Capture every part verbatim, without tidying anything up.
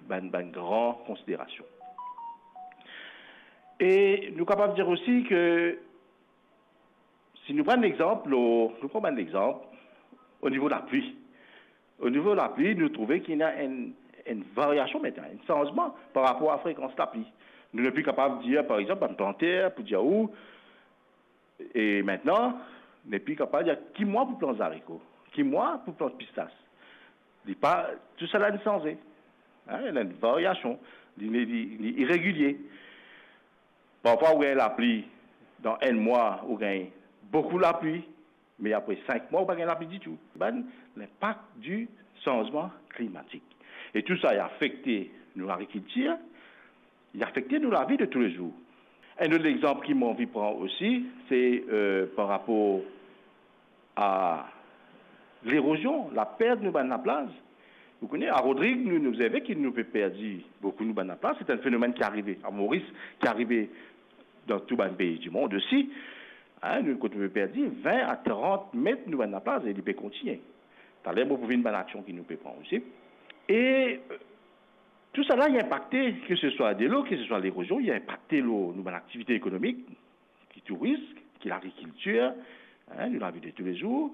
bann, bann gran konsiderasion. E nou kapav dir osi ke si nou pran lexanp, nou pran bann lexanp o nivo lapli. O nivo lapli, nou trouve ki ena enn, enn variasion aster, enn sanzman par rapor a frekans lapli. Nou nepli kapav dir, par exanp, bann planter pou dir ou, e aster, nepli kapav dir ki mwa pou plant zariko, ki mwa pou plant pistas. Li pa, tousala inn sanze. Hein, ena enn variasion, li, li, li, li iregilie. Parfwa ou gagn lapli, dan enn mwa ou gagn boukou lapli, me apre sink mwa ou pa gagn lapli ditou. Bann linpak di sanzman klimatik. E tou sa, li afekte nou lagrikiltir, li afekte nou lavi de toulezour. Enn lot lexanp ki mo anvi pran osi, se, euh, par rapor a lerozion, lapert nou bann laplaz. Ou kone, a Rodrig, nou, nou obzerve ki nou pe perdi boukou nou bann laplaz. Se enn fenomenn ki arive a Moris, ki arive dan tou bann pei dimond osi. Hein, nou, kot nou pe perdi vin a trant met nou bann laplaz, e li pe kontigne. Taler, mo pou vinn bann aksion ki nou pe pran osi. E, euh, tousala, li inpakte, ke se swa delo, ke se swa lerozion, li inpakte lor nou bann aktivite ekonomik, ki tourism, ki lagrikiltir, hein, nou lavi de toulezour.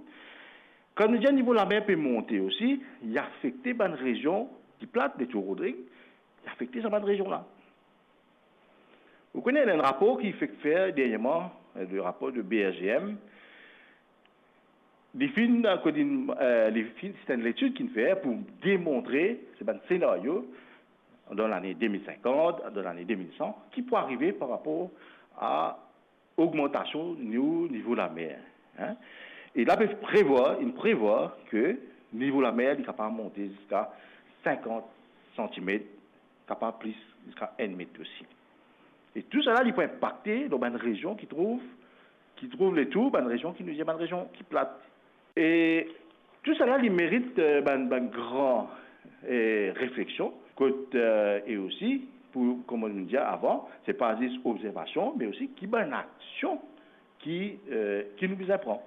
Kan nou dir nivo lamer pe monte osi, li afekte bann rezion ki plat, Letour Rodrig, li afekte sa bann rezion la. Ou kone, ena enn rapor ki fek fer dernierman, le rapor de B R G M, li finn, kot li, euh, li finn, se enn letid ki finn fer pou demontre, se bann senario, dan lane de mil sinkant, dan lane de mil san, ki pou arive par rapor a ogmantasion nou nivo lamer, hein. E la pe prevwar, inn prevwar ke nivo lamer, li kapav monte ziska sinkant santimet, kapav plis, ziska enn met osi. E tousala, li pou inpakte dan bann rezion ki trouv, ki trouv letour, bann rezion ki nou dir bann rezion ki plat. E tousala, li merit, euh, bann, bann gran, euh, refleksion, kot, euh, e osi, pou, kouma nou dir avan, se pa zis obzervasion, me osi ki bann aksion ki, euh, ki nou bizin pran.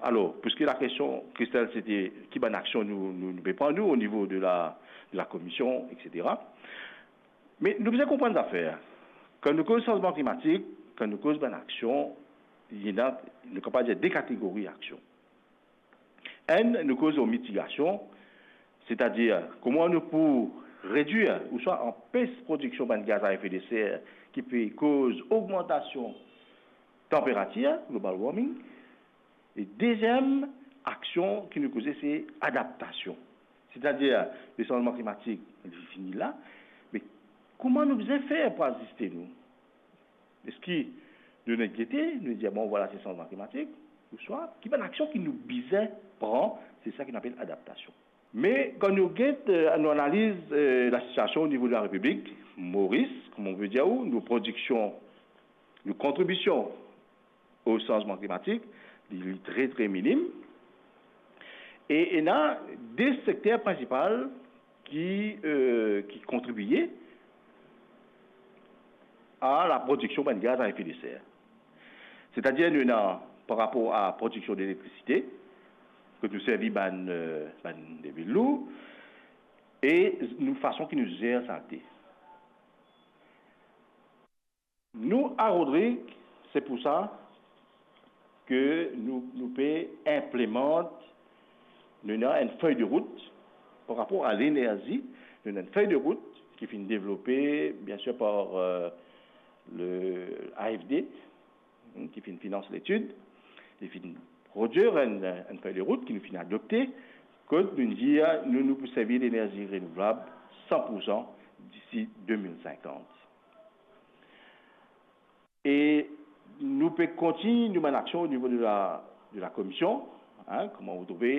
Alor, piski lakestion, Christelle, se te ki bann aksion nou, nou, nou pe pran, nou, o nivo de la, de la komision, etsetera. Me nou bizin konprann zafer. Kan nou koz sanzman klimatik, kan nou koz bann aksion, li ena, nou kapav dir, de kategori aksion. Enn, nou koz lor mitigasion, setadir kouma nou pou redwir ouswa anpes prodiksion bann gaz a efe de ser ki pe koz ogmantasion tanperatir, global warming. E deziem aksion ki nou koze, se adaptasion. Setadir, le sanzman klimatik, li fini la, me kouma nou bizin fer pou aziste nou? Eski nou nek gete, nou dir, bon, vwala, se sanzman klimatik, ouswa ki bann aksion ki nou bizin pran, se sa ki nou apel adaptasion. Me kan nou get, euh, nou analiz, euh, lasitiasion o nivo de la Repiblik, Moris, kouma mo pe dir ou, nou prodiksion, nou kontribision o sanzman klimatik, li, li tre, tre minim. E ena de sekter prinsipal ki, euh, ki kontribie a laprodiksion bann gaz a efe de ser. Setadir, nou ena par rapor a prodiksion deletrisite, kot nou servi bann, euh, bann debri lou, e nou fason ki nou zer salte. Nou, a Rodrig, se pou sa ke nou, nou pe inplemant, nou ena enn fey de rout par rapor a lenerzi, nou ena enn fey de rout ki finn devlope, biensir, par, euh, le A F D, hmm, ki finn finans letid, li finn prodwir enn, enn fey de rout ki nou finn adopte, kot nou dir nou, nou pou servi lenerzi renouvlab san pou san disi de mil sinkant. E nou pe kontign nou bann aksion o nivo de la, de la komision, hein, kouma ou trouve,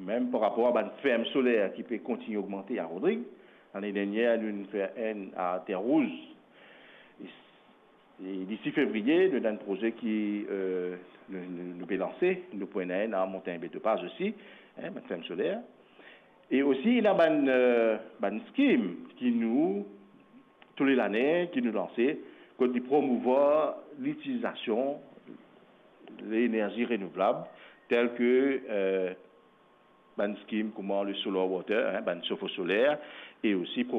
mem par rapor a bann ferm soler ki pe kontign ogmante a Rodrig. Lane dernier, nou, nou fer enn a Terre Rouge. E, e disi fevriye, nou ena enn proze ki, euh, nou, nou, nou pe lanse, nou pou ena enn a Montagne Belle de Paz osi, hein, bann ferm soler. E osi, ena bann, euh, bann skim ki nou, toule lane, ki nou lanse, kot li promouvwar litilizasion lenerzi renouvlab, tel ke, euh, bann skim kouma le solar water, hein, bann sofo soler, e osi